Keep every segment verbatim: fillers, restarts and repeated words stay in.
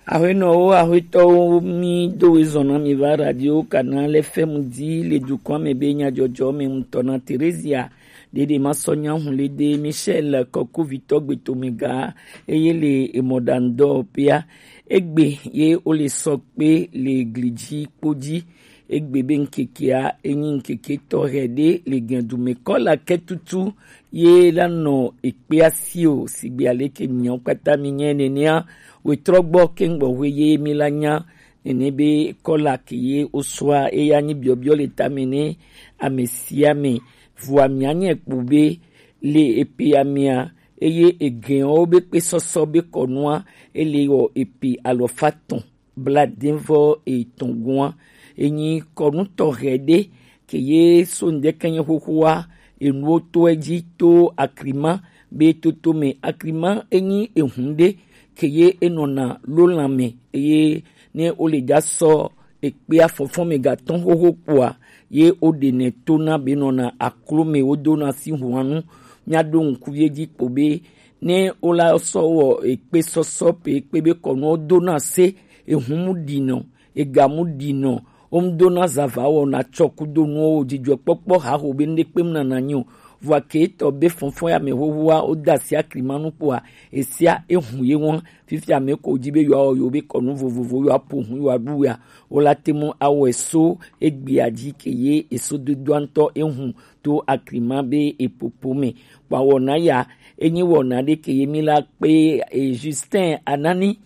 Ahuenɔwo, ahuetɔwo, mi do wezɔn na mi va Radio Canal F M di le dukɔa me be nyadzɔdzɔ me ŋutɔ na Teresia. Ɖeɖe ma sɔ nya hun le de Michel Kɔkuvitɔ gbetome ga eye le emɔɖaŋudɔ pea. Egbe ye wo le sɔ kpe le gli dzi kpo dzi. Egbe be ŋkekea enyi ŋkeke tɔxɛ ɖe le gɛndume kɔla kɛtutu ye la nɔ ekpea si o, sigbe aleke miawo kpata mi nyɛ nenea, wetrɔ gbɔ kengbe hwe ye mi la nya nene be kɔla ke ye osua eya nyi biɔbiɔ le tame ne ame sia ame. Vua mia nyɛ kpo be le epe amea eye egɛnwo be kpe sɔsɔ be kɔnua ele wɔ epe alɔfa tɔn bla den vɔ etɔn gɔn. Enyi kɔnu tɔxɛ ɖe ke ye so ŋdɛkɛnyɛ xoxoa enuwo to edzi to akrima be toto me. Akrima enyi ehun ɖe ke ye enɔna lo lan me eye ne wo le ja sɔ ekpea fɔfɔ me gatɔn xoxo kpoa ye wo ɖe nɛ to na be nɔna aklo me wo do na si hua nu. Mia ɖo ŋku vie dzi kpo be ne wo la sɔ wɔ ekpe sɔsɔ pe ekpe be kɔnu wo do na se ehun mu ɖi nɔ ega mu ɖi nɔ wo mu do na zava wɔ na tsɔ ku do nuwo wo dzidzɔ kpɔkpɔ ha ho be ŋɖe kpe mu na na nyi o. Vua ke etɔ be fɔnfɔn ya me hohoa wo da si akli ma nu kpoa esia ehun ye wɔn. Fifia me ko dzi be yewoawɔ yewo be kɔnu vovovo yewoaƒo hu yewoaɖu ya wo la te mu awɔe so egbea dzi ke ye eso dodoa ŋutɔ ehun to akrima be epopo me. Kpɔ awɔna ya enyi wɔna ɖe ke ye mi la kpe e, Justin Anani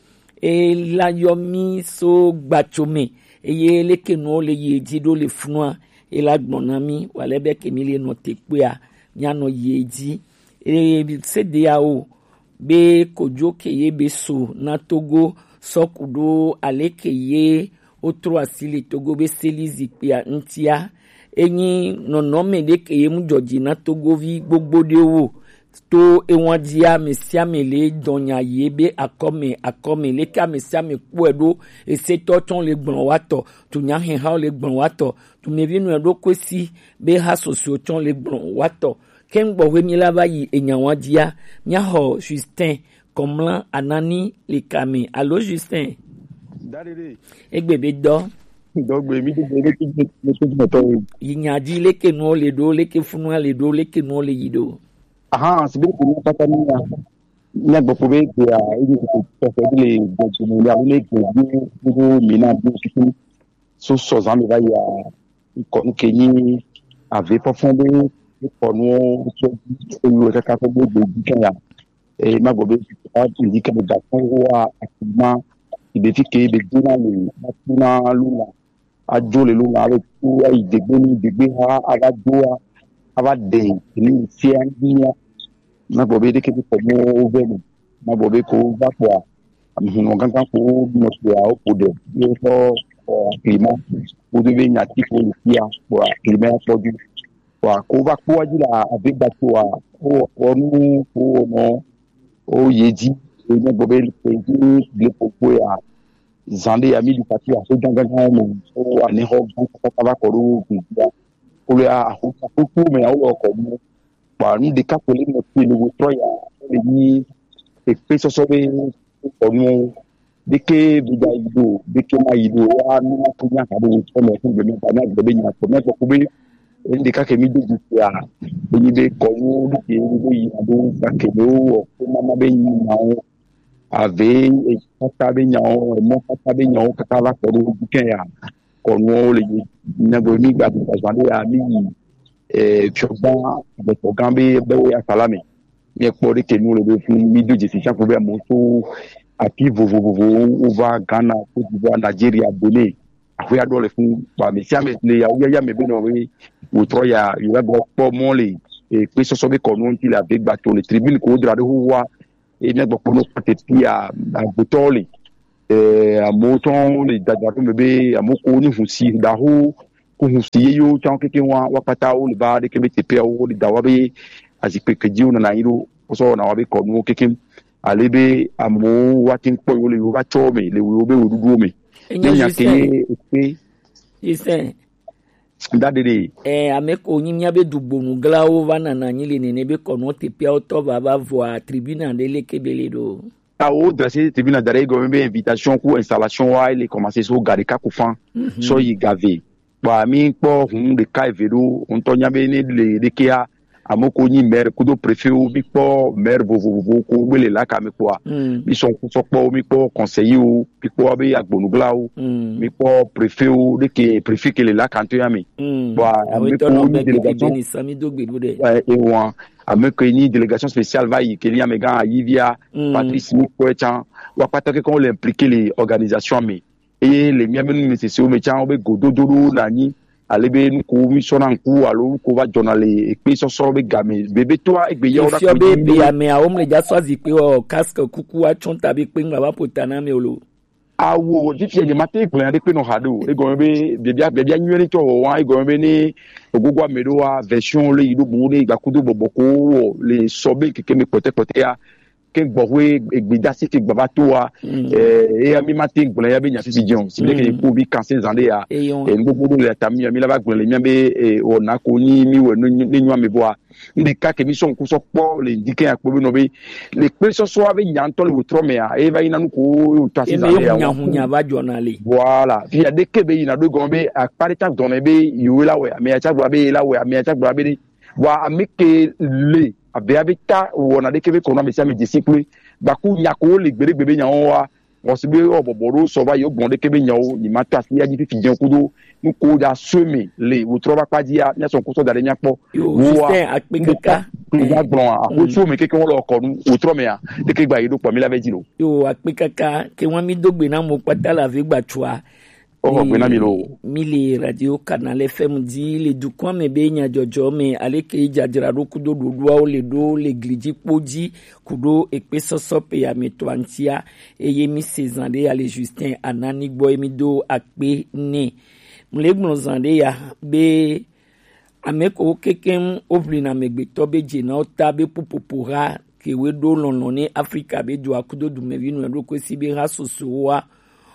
e la yɔ mi so gbatso me eye leke nuwo le yi edzi ɖo le funua e la gbɔn na mi wale be ke mi le nɔ te kpea mia nɔ yi edzi e sede ya o be kojo ke ye be so na Togo sɔ ku ɖo ale ke ye wotrɔ asi le Togo be seli zikpuia ŋutia. Enyi nɔnɔme ɖe ke ye mu dzɔdzi na Togovi gbogbo ɖewo to ewan dzia ame sia ame le dɔnya ye be akɔme akɔme leke ame sia ame kpɔe ɖo esetɔ tsɔ le gblɔ wa tɔ tunya hɛhawo le gblɔ wa tɔ tumevi nɔ ɖo koe si be ha sosio tsɔ le gblɔ wa tɔ. Kɛŋgbɔ hwe mi la va yi enyawa dzia, mia xɔ Justin Kɔmla Anani le kame. Alo Justin? Egbe be dɔ. Dɔgbe mi do be leke mi to me to. Yi nya dzi leke nuwo le ɖo, leke funua le ɖo, leke nuwo le yi ɖo. Aha, si be ko mi pata mi ya. Nya gbɔ ko be ko ya, ebi ko ko ko le gbɔ ko mi ya, le gbɔ ko ko mi na bi ko so sɔ zan mi va ya. Kɔnu ke nyi ave fɔfɔn be kɔnu tso eyo kaka ko gbogbo dzi ke ya. E ma gbɔ be a ti di ke da ko wa akuma ibe fi ke be dina le ma tuna luna adzo le luna le tu ayi degbe ni degbe ha ava do a ava de ni sia ni ya. Ma gbɔ be ɖeke be kɔnu ve ni ma gbɔ be ko va kpɔa Hunɔ gãgã ko nɔ sia wo ƒo ɖe ye sɔ xɔ klima kudo be nyati ko le fia kpoa klima ya kpɔ dzi. Kpoa ko va kpɔa dzi la ave gba tsoa wo xɔ nu ko nɔ wo ye dzi. Enye gbɔ be ko dzi le kpokpo ya zan ɖe ya mi ɖi kati aƒe gãgãgã me so anexɔ gã kaka va kɔ ɖo gbe dzi ya. Ko le aho kpokpo me ya wo le kɔ nu. Kpoa nu ɖeka ko le nɔ fi le wo trɔ ya le nyi ekpe sɔsɔ be kɔnu ɖeke be ga yi ɖo ɖeke ma yi ɖo ya nu ma ko nya ka ɖo wo trɔ me fún gbɛmɛ ba na gbɛ be nya ko mɛ kpɔ ko be enu ɖeka ke mi do dzi sia be nyi be kɔnu ɖeke be yi na ɖo gake be wo wɔ ko mama be nyi na wo ave kaka be nyawo emɔ kaka be nyawo kaka va kɔ ɖo dzi ke ya kɔnuwo le yi nyagbe mi gba gba zan ɖe ya mi yi eh fiɔgã gbɛtɔgã be be wo ya sala me mi kpɔ ɖe ke nu le be fún mi do dzesi siaƒo be amewo tso afi vovovowo wova Ghana, Côte d'Ivoire, Nigeria, Benin aƒe aɖewo le fún ba me sia me le yawu yaya me be nɔ be wòtrɔ ya yewo gbɔ kpɔ mɔ le eh kpe sɔsɔ be kɔnuwo ŋuti le ave gba tso le tribune ko wodra ɖo xoxoa eye míagbɔ kpɔ nɔ kpɔtɛ fia agbetɔwo le eh amewo tsɔ le dada ɖo me be amewo ko ni hu si ɖaho ko hu si yeyewo tsã keke wa wa kpata wo le ba ɖeke be teƒea wo le da wa be azikpe ke dzi wo nɔna anyi ɖo wosɔ wɔna wa be kɔnuwo keke ale be amewo wa te ŋu kpɔ yewo le yewo va tsɔ me le yewo be woɖuɖuwo me ne nya ke ye ekpe da ɖeɖe. Ɛ ame ko nyi míabe dugbonuglawo va nana anyi le nene be kɔnuwo teƒeawo tɔ va va vɔa tribuna ɖe leke be le ɖo. Awo dresse tribune da ɖe egɔme be invitation ku installation wa ele commencer so ga ɖeka ku fan sɔ yi ga ve. Bua mi kpɔ hun ɖeka eve ɖo ŋutɔ nya be ne le ɖekea, ame ko nyi maire kudo préfet wo, mi kpɔ maire vovovo ko gbe le laka me kpɔa, mi sɔ ŋku sɔ kpɔ wo, mi kpɔ conseiller wo, mi kpɔ be agbonugla wo, mi kpɔ préfet wo ɖeke, préfet ke le laka ŋutɔ ya me. Bua ame ko nyi délégation, eh, ewa, ame ko nyi délégation spéciale va yi ke nyi amegã Ayivia Patrice, mi kpɔe tsã, wa kpata ke kɔ le impliqué le organisation me. Eye le mía be numesese wo me tsã, wo be gododo ɖo na nyi ale be nu ko mi sɔna ŋku alo nu ko va dzɔna le ekpe sɔsɔ be game be be toa egbe yawo ɖa. Efiɔ be be ameawo mle dza sɔ azikpe wɔ casque kuku atsɔ ta be kpe ŋgba va ƒo ta na ame o lo. Awo, fifia nye mate gblẽ aɖe kpe nɔ ha ɖe o. Egɔme be biabia, biabia nyuie ɖe tɔ wɔ wa, egɔme be ne ogogo ame ɖo wa, version le yi ɖo boŋ ɖe gbakudo bɔbɔ ko wɔ le sɔ be keke me kpɔtɛ kpɔtɛ ya. Ke gbɔxwe egbedasi ke gbava to wa, eh, eya mi mate gblẽ ya be nya sisi dze o. Si be ke ko bi kanse zan ɖe ya. Eh, nu gbogbo ɖo le ta mi ya, mi la va gblẽ le mía be, eh, wɔna ko nyi mi wɔ ne nyo ame bɔa. Ŋɖeka ke mi sɔ ŋku sɔ kpɔ le ŋdi ke akpɔ be nɔ be le kpe sɔsɔ be nya ŋutɔ le wòtrɔ mea, eye va yi na nu ko wòtɔ asi zã le ya hunya hunya va dzɔna le. Voilà, fi ya ɖeke be yina ɖo gɔme be akpa ɖe ta dɔnɛ be yewo la wɛ, ame ya tsa gblɔ be ye la wɛ, ame ya tsa gblɔ be ɖe. Vɔa ame ke le abe abe ta wɔna ɖeke be kɔnɔ ame sia ame dze si kple baku nya ko le gbeɖegbe be nyawo wa. Wɔ si be wɔ bɔbɔ ɖo sɔ va yi, wogbɔn ɖeke be nyawo, nyi ma to asi ya dzi fifi dze kudo nu ko da so me le wòtrɔ va kpa dzi ya, mía sɔ ŋku sɔ da ɖe mía kpɔ. Yo, Justin, akpe kaka. Kpe ga gblɔn a, ko so me keke wɔ lɔ kɔ nu, wòtrɔ me a, ɖeke gba yi ɖo kpɔ mi la vɛ dzi lo. Yo, akpe kaka, ke wa mi do gbe na mo kpata la ve gba tsua. Oh, gbe na mi lo. Mi le Radio Canal F M dzi le dukɔa me be nyadzɔdzɔ me, ale ke dzadzraɖo kudo ɖoɖoawo le ɖo le gli dzi kpo dzi kudo ekpe sɔsɔ pe ya me to aŋtia, eye mi se zan ɖe ya le Justin Anani gbɔ, ye mi do akpe nɛ. Mle gblɔ zan ɖe ya be ame ko kekeŋ wo ʋlina amegbetɔ be dze na wo ta be ƒuƒoƒo ha ke woe ɖo lɔlɔ̃ ne Afrika be dua kudo dumevi nɔ ɖo koe si be ha soso woa.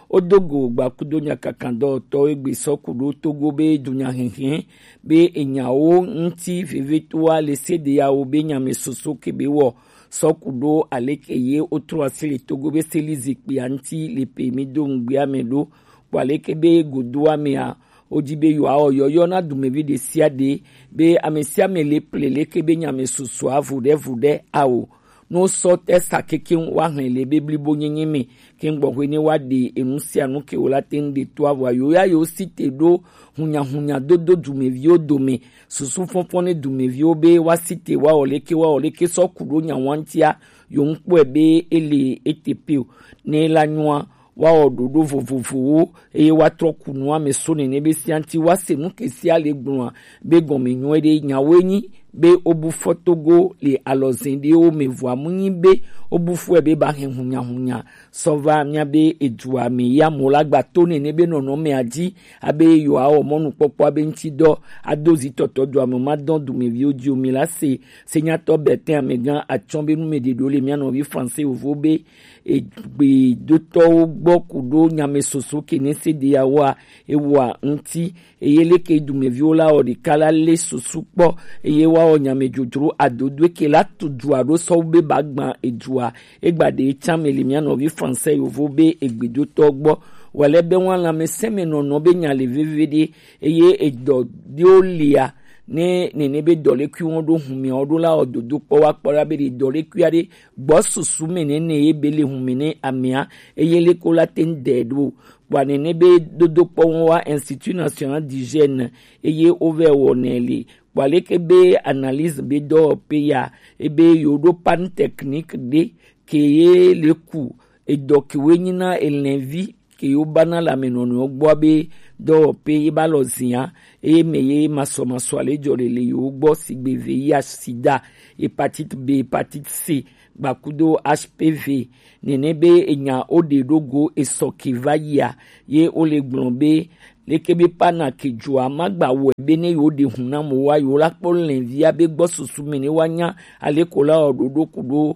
Wodo go gba kudo nyakakan dɔwɔtɔwo egbe sɔ ku ɖo Togo be dunya hɛhɛ be enyawo ŋuti vevetoa le sedeyawo be nyame soso ke be wɔ sɔ ku ɖo aleke ye wotrɔ asi le Togo be seli zikpuia ŋuti le pe mi do ŋugbea me ɖo. Kpɔ aleke be godoa mea, wodi be yewoawɔ yɔyɔ na dumevi ɖe sia ɖe be ame sia ame le ple leke be nyame sosoa vuɖevuɖe ao. Ne wosɔ te sa kekeŋ woahlẽ le be blibo nyenye me, ke ŋgbɔxwe ne woaɖe enu sia nu ke wòla te ŋu ɖe to avɔa yewo ya yewo si te ɖo hunyahunya dodo dumeviwo dome, susu fɔfɔ ne dumeviwo be woasi te woawɔ leke woawɔ leke sɔ ku ɖo nyawa ŋutia, yewo ŋkpɔe be ele ete pe o. Ne la nyoa, woawɔ ɖoɖo vovovowo, eye woatrɔ ku nua me so nene be sia ŋuti woase nu ke sia le gblɔa be gɔme nyuie ɖe. Nyawoe nyi be wobu fɔ Togo le alɔzɛn ɖewo me, vɔa mu nyi be wobu fɔe be ba hɛn hunyahunya sɔ va mía be edua me ya mo la gba to nene be nɔnɔmea dzi abe yewoawɔ mɔnukpɔkpɔ abe ŋuti dɔ ado zitɔtɔ dua me ma dɔn dumeviwo dzi o. Mi la se senyatɔ Bertin Amegã atsɔ be nu me ɖe ɖo le mía nɔvi français yovo be egbedotɔwo gbɔ ku ɖo nyame soso ke ne se ɖe yawoa ewa ŋuti. Eye leke dumeviwo la wɔ ɖeka la le susu kpɔ, eye woawɔ nyame dzodzro adodoe ke la tu dua ɖo sɔ be ba gbã edua. Egba ɖe tsã me le mía nɔvi français yovo be egbedotɔ gbɔ. Wale be wa lãmesẽ me nɔnɔ be nya le veve ɖe, eye edɔ ɖewo lia ne nene be dɔlekui wɔn ɖo hun mia wo ɖo la wɔ dodo kpɔ wa kpɔ la be ɖe dɔlekui aɖe gbɔ susu me nene ye be le hun me ne amea, eye leko la te ŋu ɖe ɖo. Kpɔa nene be dodokpɔ wɔn wa Institut National d'Hygiène, eye wovɛ wɔnɛ le. Kpɔa leke be analyse be dɔwɔƒe ya, ebe yewo ɖo panne technique ɖe ke ye le ku edɔ ke woe nyi na elɛvi ke yewo ba na le amenɔnɔewo gbɔa be dɔwɔƒe ye ba lɔ zia, eye me ye masɔmasɔ ale dzɔ le le yewo gbɔ sigbe V I H, sida, hépatite B, hépatite C, gbakudo H P V. Nene be enya wo ɖe ɖo go esɔ ke va yia, ye wo le gblɔ be leke be pana ke dzoa ma gba wɔe be ne yewo ɖe hun na mo wa yewo la kpɔ lɛnvia be gbɔ susu me ne wa nya ale ko la wɔ ɖoɖo ku ɖo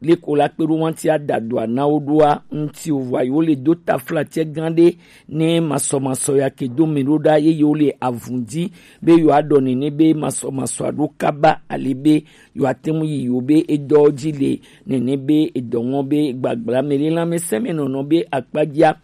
leko la kpe ɖo wanti adadu ana wo ɖoa ŋuti o, vɔa yewo le do taflatse gã ɖe ne masɔmasɔ ya ke do mɛ ɖo ɖa ye yewo le avun ji be yewoa ɖɔ nene be masɔmasɔa ɖo kaba ale be yewoa te ŋu yi yewo be edɔ ji le nene be edɔ ŋɔ be gbagbla mɛ le lãmesẽ mɛ nɔnɔ be akpajia.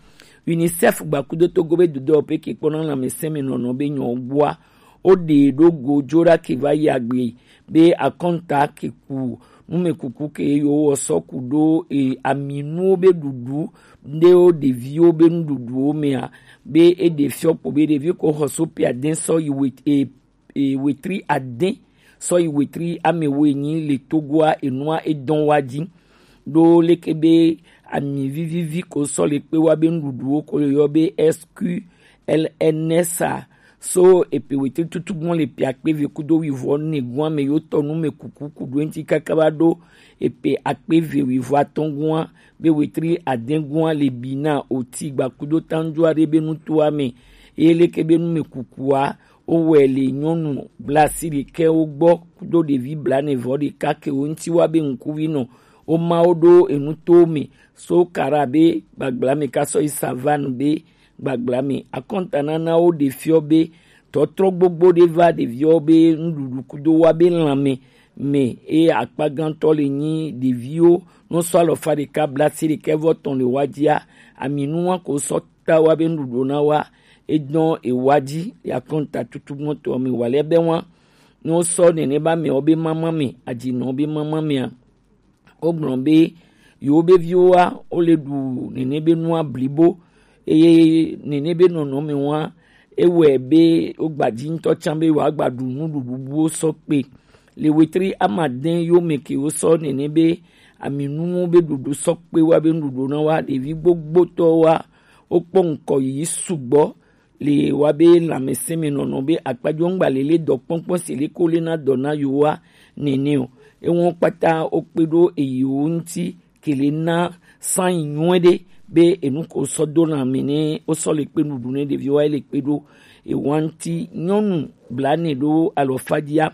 UNICEF gbakudo Togo be dudɔ pe ke kpɔna lãmesẽ mɛ nɔnɔ be nyɔ gbɔa o ɖe ɖo go jo ɖa ke va yi agbe be akɔnta ke ku numekuku ke yewo wɔ sɔ ku ɖo e, aminuwo be ɖuɖu ɖewo ɖeviwo be nuɖuɖuwo mea be e ɖe fiɔ kpo be ɖevi ko xɔ so pe adɛn sɔ yi we e, e, wetri adɛn sɔ yi wetri ame wo enyi le Togoa enua e dɔn wa ji ɖo leke be ami vivivi ko sɔ le kpe wa be nuɖuɖuwo ko le yɔ be S Q L N S a so epe wetri tutugbɔn le pe akpe ve kudo wivɔ ne gua me yo tɔ nu me kuku kudo enti kaka va ɖo epe akpe ve wivɔ atɔn gua be wetri adɛn gua le bi na oti gbakudo tanjua ɖe be nutoa me eye leke be nu me kukua o wɛ le nyɔnu blasi ɖekɛ wo gbɔ kudo ɖevi blanevɔ ɖeka ke wo ŋti wa be ŋkuvi nɔ o ma wo ɖo enu to me so kara be gbagbla me ka sɔ yi savane be gbagbla me akɔntananawo ɖe fiɔ be tɔtrɔ gbogbo ɖe va ɖeviwo be nuɖuɖu kudo wa be lãme me eye akpa gãtɔ le nyi ɖeviwo nɔ sɔ alɔfa ɖeka blasi ɖekɛ vɔ tɔn le wa jia aminu wa ko sɔ ta wa be nuɖuɖu na wa edɔn ewa ji ya kɔnta tutu mɔtɔ mi wa lɛ bɛ wa ni wo sɔ nene ba mɛ wo be mama mɛ adzi nɔ wo be mama mɛ a wo gblɔ be yewo be viwo wa wo le ɖu nene be nua blibo eye nene be nɔnɔ mɛ wa ewɛ be wo gba dzi ŋutɔ tsã be wa gba ɖu nuɖuɖu buwo sɔ kpe le wetri amadɛn yo mɛ ke wo sɔ nene be aminu wo be ɖuɖu sɔ kpe wa be nuɖuɖu na wa ɖevi gbogbotɔ wa wo kpɔ ŋkɔ yi sugbɔ le wa be lãmesẽ me nɔnɔ be akpajo ŋgba lele dɔ kpɔnkpɔn si le ko le na dɔ na yo wa nene o ewo kpata wo kpe ɖo eyi wo ŋti kele na san yi nyuɛ ɖe be enu ko sɔ do lãme ne wo sɔ le kpe nuɖuɖu ne ɖevi wa le kpe ɖo ewa ŋti nyɔnu blane ɖo alɔfa jia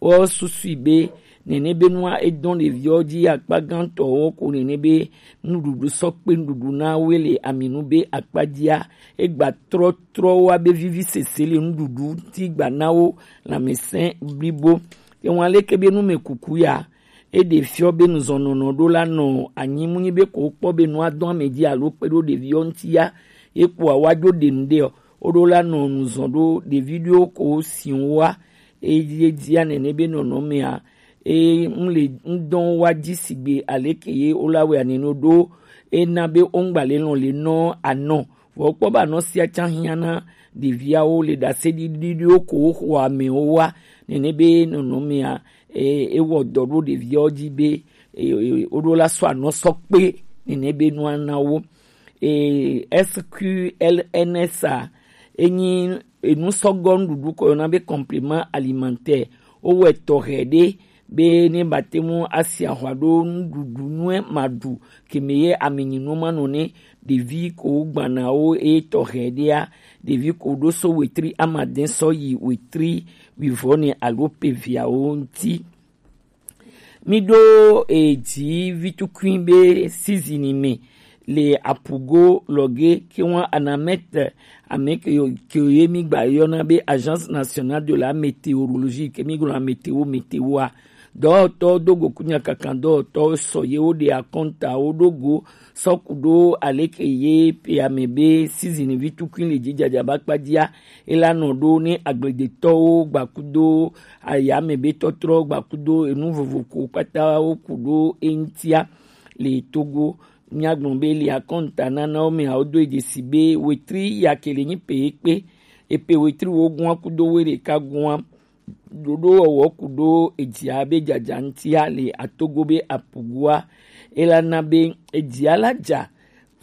wo susui be nene be nua edɔn ɖeviwo ji akpa gãtɔwo ko nene be nuɖuɖu sɔ kpe nuɖuɖu na wo le aminu be akpa jia egba trɔtrɔ wa be vivi sese le nuɖuɖu ti gba na wo lãmesẽ blibo ewa leke be nu me kuku ya eɖe fiɔ be nuzɔnɔnɔ ɖo la nɔ anyi mu nyi be ko kpɔ be nua dɔn ame ji alo kpe ɖo ɖeviwo ŋti ya ye kpoa wa jo ɖe nu ɖe o wo ɖo la nɔ nuzɔn ɖo ɖevi ɖewo ko si wa eye dzia nene be nɔnɔmea eye ŋle ŋdɔn wa dzi sigbe aleke ye wo la wɛ anene ɖo ena be wo ŋgba le lɔn le nɔ anɔ vɔ kpɔ ba nɔ sia tsa hiã na ɖeviawo le ɖase ɖiɖiɖiwo ko wo xɔ amewo wa nene be nɔnɔmea e ewɔ dɔ ɖo ɖeviawo dzi be e e- wo ɖo la sɔ anɔ sɔ kpe nene be nua na wo e S Q L N S a enyi enusɔgɔ nuɖuɖu kɔ yɔna be complément alimentaire wowɛ tɔxɛ ɖe be ne bate mu asi ahwa ɖo nuɖuɖu nue maɖu keme ye amenyinu manɔ ne ɖevi ko gbanawo eye tɔxɛ ɖea ɖevi ko ɖo so wetri amadɛn sɔ yi wetri wivɔ ne alo pe viawo ŋti. Mi ɖo edzi vitukui be sizini me le apugo lɔge ke wan anamɛte ame ke yo- ke ye mi gba yɔna be Agence Nationale de la Météorologie ke mi gblɔna météo météo a dɔwɔtɔ do go kunya kankan dɔwɔtɔ sɔ ye wo ɖe akɔnta wo ɖo go sɔ ku ɖo aleke ye pe ame be sizini vitukui le dzi dzadza ba kpadzia ela nɔ ɖo ne agbledetɔwo gbakudo ayame be tɔtrɔ gbakudo enu vovo ko kpata wo ku ɖo eŋtia le Togo. Míagblɔ be le akɔnta nanawo me awo do dzesi be wetri ya ke le nyi pe ekpe epe wetri wo gua kudo we ɖeka gua ɖoɖo wɔwɔ ku ɖo edzia be dzadza ŋtia le atogo be apugua ela na be edzia la dza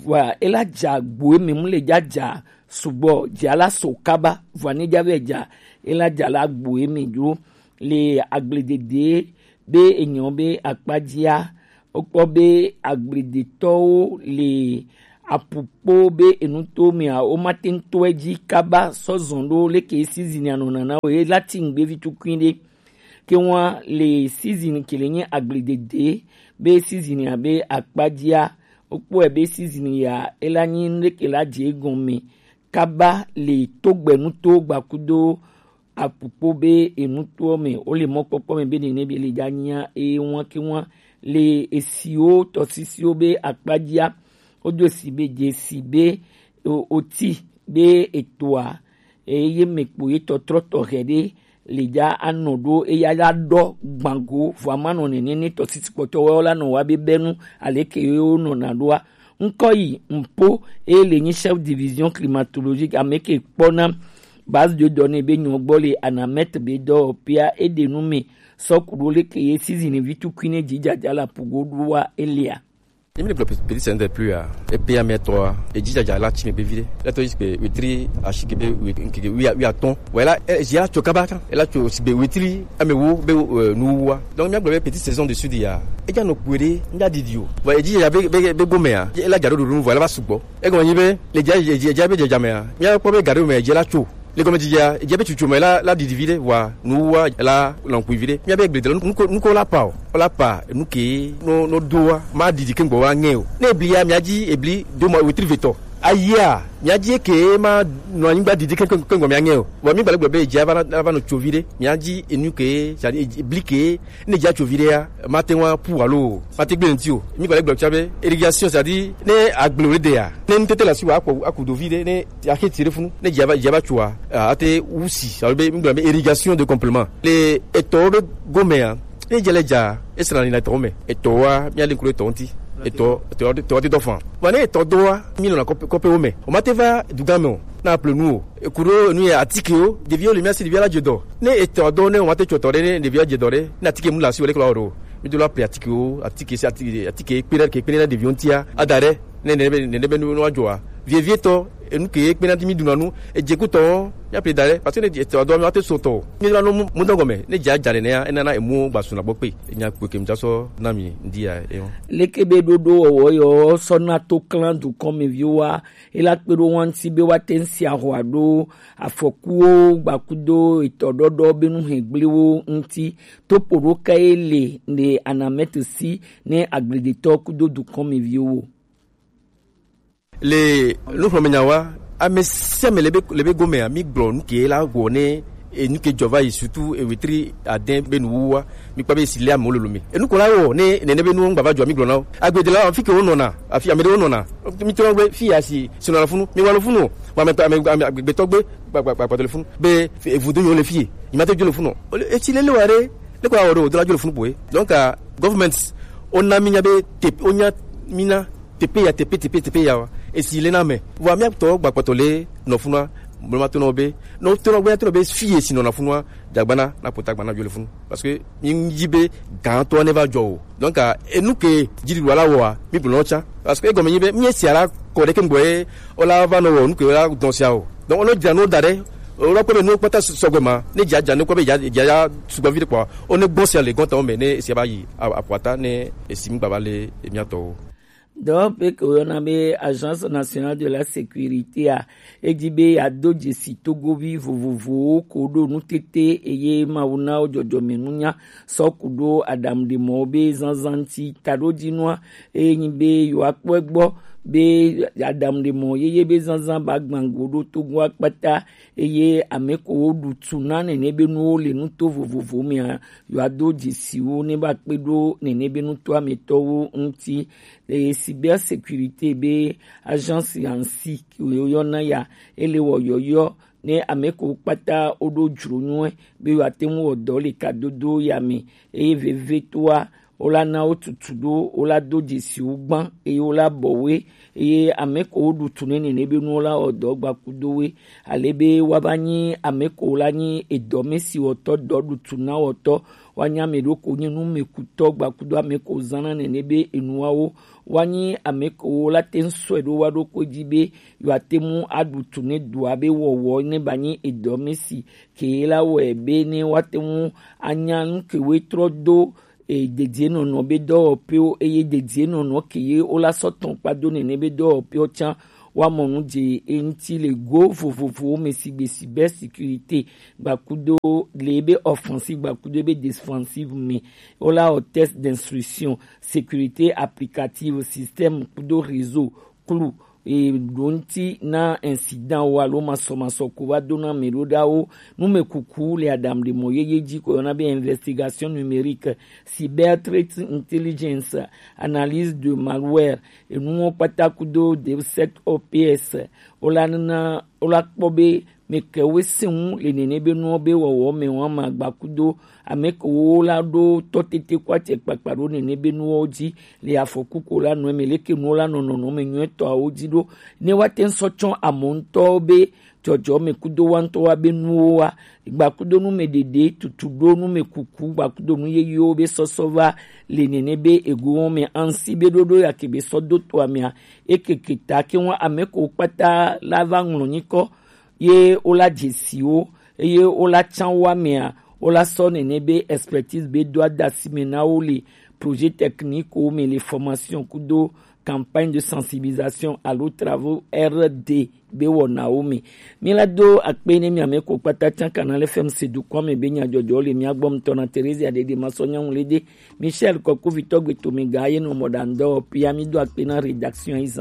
vɔa ela dza gboe me mu le dza dza sugbɔ dzia la so kaba vɔa ne dza vɛ dza ela dza la gboe me dzo le agbledede be enyɔ be akpadzia wokpɔ be agbledetɔwo le apukpo be enuto mea womate ŋu tɔe dzi kaba sɔ zɔn ɖo leke sizini anɔna na wo ye la ti ŋgbe vi tukui ɖe ke wa le sizini ke le nye agbledede be sizini abe akpajia, wokpɔe be sizini ya ela nyi nuɖe ke la dze egɔme kaba le togbɛnuto gbakudo apukpo be enutoɔ me wole mɔkpɔkpɔ me be nene be le dza nyia eye wan ke wan le esiwo tɔsisiwo be akpajia. Wodo esi be dze esi be o- oti be etoa eye mekpo ye tɔtrɔ tɔxɛ ɖe le dza anɔ ɖo eya la ɖɔ gbango vɔ ama nɔ nene ne tɔsisi kpɔtɔ wɔ la nɔ wa be bɛnu aleke ye wo nɔna ɖoa. Ŋkɔ yi mpo eye le nyi chef division climatologique ame ke kpɔna base de données be nyɔ gbɔ le anamɛt be dɔwɔpea eɖe nu me sɔ ku ɖo leke ye sizini vi tukui ne dzidzadza la pugo ɖoa elia. Emi le gblɔ pe- petit sɛnsɛ plus a epe ame tɔ a edzidzadza la tsi me be vi ɖe. Etɔ yi sigbe wetri asi ke be we- nkeke wi wi atɔ̃. Wɔ ela ezi la tso kaba kan ela tso sigbe wetri ame wo be eh, nuwuwua. Donc mi agblɔ be petite saison de sud ya edza nɔ kpue ɖe ŋdza didi o. Vɔ edzidzadza be be be gomea ela dza ɖo ɖoɖo nu vɔ ela va sugbɔ. Egɔme nyi be le dza dza dza be dzadzamea mi akpɔ be gaɖo me edze la tso. Le gɔmedzedzea, edze be tsutsu me la, la ɖiɖi vi ɖe, wa nuwua la lɔnkui vi ɖe. Mía be gblede lɔ, nuko nuko la pa o, la pa nu ke no no doa, ma ɖiɖi ke gbɔ wa ŋɛ o. Ne eblia mía dzi ebli do ma wetri vetɔ. Ayia, mía dzi ke ma nɔ anyigba ɖiɖi ke ke gbɔ mía ŋɛ o. Vɔ mi gbalẽ gblɔ be edze va va nɔ tso vi ɖe, mía dzi enu ke, c'est-à-dire ebli ke ne dza tso vi ɖea, mate ŋu aƒu alo mate gbe ŋuti o. Mi gbalẽ gblɔ tsã be irrigation, c'est-à-dire ne agble ɖea, ne ŋutete le asi wa akpɔ aku do vi ɖe ne axeti ɖe funu ne dza va dza va tsoa, ate wusi alo be mi gblɔ be irrigation de complément le etɔwo be gomea. Ne dze le dza esra ni le etɔwo me etɔwoa mia le ŋku ɖe etɔwo ŋuti. Etɔ etɔ etɔ te dɔ fan. Vɔ ne etɔ dɔa mi nɔna kɔpe kɔpewo me o ma te va dugã me o. Na ple nu o eku ɖo enu yɛ atikewo ɖeviwo le mía si ɖevia la dze dɔ. Ne etɔ dɔ ne woma te tso tɔ ɖe ne ɖevia dze dɔ ɖe ne atike mu le asi o leke la wɔ ɖo. Mi do la ple atikewo atike si atike atike kpe ɖe ke kpe ɖe na ɖeviwo ŋutia ada ɖe ne nene be nene be nu wa dzɔa. Vievietɔ enu ke kpe na ti mi ɖuna nu edze kutɔ mía ple da ɖe parce que ne etɔ dɔ mi wa te so tɔ o mi la no mu dɔ gɔme ne dza dza nenea enana emu gba suna gbɔ kpe enya kpe ke mi dza sɔ na mi ŋdi ya eyo. Leke be ɖoɖo wɔwɔ yɔ sɔ na to klã dukɔmeviwoa ela kpe ɖo wa ŋuti be woate ŋu si ahɔa ɖo afɔkuwo gbakudo etɔɖɔɖɔ be nuhɛgbliwo ŋuti. Topoɖoka ye le ne anamɛte si ne agbledetɔ kudo dukɔmeviwo. Le nuxlɔ̃menya wa ame sia ame le be le be gomea mi gblɔ nu ke la wɔ ne enu ke dzɔ va yi surtout ewetri adɛn be nuwuwua. Mi kpɔ be esi le amewo lolo me enu ko la wɔ ne nene be nuwo ŋgba va dzɔ mi gblɔ na wo agbede la afi ke wo nɔna afi ame ɖewo nɔna. Mi trɔ be fi ya si si nɔna funu mi wa lo funu o wa me ame ame agbetɔ gbe kpakpakpakpatɔ le funu be evudo nyo le fi ye yi ma te dzo le funu o esi lele wa ɖe ne ko awɔ ɖe o do la dzo le funu boye donc government o na mi nya be te o nya mi na tepe ya tepe tepe tepe ya wa esi le na me vɔ mi atɔ gbakpɔtɔ le nɔ funua. Mo ma to nɔ be nɔ to nɔ gbe to nɔ be fi ye si nɔ na funua. Dagbana na kota gbana jɔ le funu parce que mi yi be gan to ne va jɔ o donc enu ke jiri wala wa mi bu nɔ tsa parce que egɔme nyi be mi si ala kɔ ɖe ke ŋgbɔ ye o la va nɔ wɔ nu ke o la dɔn sia o donc o nɔ dza no da ɖe o la kpɔ be nu kpata sɔgbɛ ma ne dza dza ne kpɔ be dza dza sugbɔ vi ɖe kpɔ o ne gbɔ sia le gɔntɔn me ne esi ba yi aƒuata ne esi mi gbava le emi atɔ o. Dɔwɔƒe ke woyɔna be Agence Nationale de la Sécurité a, edi be yeado dzesi togovi vovovowo ko ɖo nutete eye Mawu na wo dzɔdzɔmenunya sɔ ku ɖo aɖaŋuɖemɔwo be zazã ŋuti. Taɖodzinua eye nyi be yewoakpɔe gbɔ be aɖaŋuɖemɔ yeye be zazã ba gbã go ɖo Togoa kpata eye ame ko woɖu tu na nene be nuwo le nuto vovovo mea, yewoado dzesiwo ne va kpe ɖo nene be nutoa me tɔwo ŋuti. Eye cybersécurité be agence yansi ke woyɔna ya, ele wɔ yɔyɔ ne ame ko kpata woɖo dzro nyuie be yewoate ŋu wɔ dɔ le kadodo ya me. Eye vevetoa wola na wo tutu ɖo, wola do dzesi wo gbã eye wola bɔ woe. Eye ame ko woɖu tu ne nene be nuwo la wɔ dɔ gba kudo woe. Ale be woava nyi ame ko la nyi edɔme si wɔtɔ dɔ ɖu tu na wɔtɔ. Woanyi ame ɖo ko nyi numekutɔ gba kudo ame ko zãna nene be enuawo. Woanyi ame ko la te ŋu sɔe ɖo wa ɖokui dzi be yewoate ŋu aɖu tu ne dua be wɔwɔ ne ba nyi edɔme si ke la wɔe be ne woate ŋu anya nu ke woe trɔ do e dedienɔnɔ be dɔwɔƒewo eye dedienɔnɔ ke ye wola sɔ tɔn kpa do nene be dɔwɔƒewo tsã Wa mɔ nu je eŋti le go vovovowo me sigbe cybersécurité gbakudo le ebe offensive gbakudo ebe défensive me. Wola wɔ test d'instruction, sécurité applicative, système kudo réseau klu e ɖo ŋti na incident wo alo masɔmasɔ ko va do na ame ɖo ɖawo. Numekuku le aɖaŋuɖemɔ yeye ji ko yɔna be investigation numérique, cyber threat intelligence, analyse de malware, enuwo kpata kudo DevSecOps. Wola nana wola kpɔ be meke wo se ŋu le nene be nuwo be wɔwɔ me wɔn ma gba kudo ame ke wo la ɖo tɔ tete ko atse kpakpa ɖo nene be nuwo dzi le afɔku ko la nɔ me leke nuwo la nɔ nɔnɔ me nyuitɔ awo dzi ɖo. Ne wa te ŋsɔ tsɔ amɔ ŋutɔ be dzɔdzɔ me kudo wa ŋutɔ wa be nuwo wa gba kudo nu me ɖeɖe tutu ɖo nu me kuku gba kudo nu yeyewo be sɔsɔ va le nene be ego wɔn me ansi be ɖoɖo ya ke be sɔ do to amea. Ekeke ta ke wɔn ame ko kpata la va ŋlɔ nyikɔ ye wola dze si wo eye wola tsã wo amea. Wola sɔ nene be expertise be do ada si me na wo le projet technique wo me le formation kudo campagne de sensibilisation alo travaux R D be wɔnawo me. Mi la do akpe ne mi ame ko kpata tsã Canal F M se dukɔ me be nyadzɔdzɔ le mia gbɔ ŋutɔ na Theresia Dede Masɔ Nyanwu le de Michel Kɔkuvitɔ gbe to me ga ye no mɔ ɖa ŋdɔ pia mi do akpe na rédaction yi zã.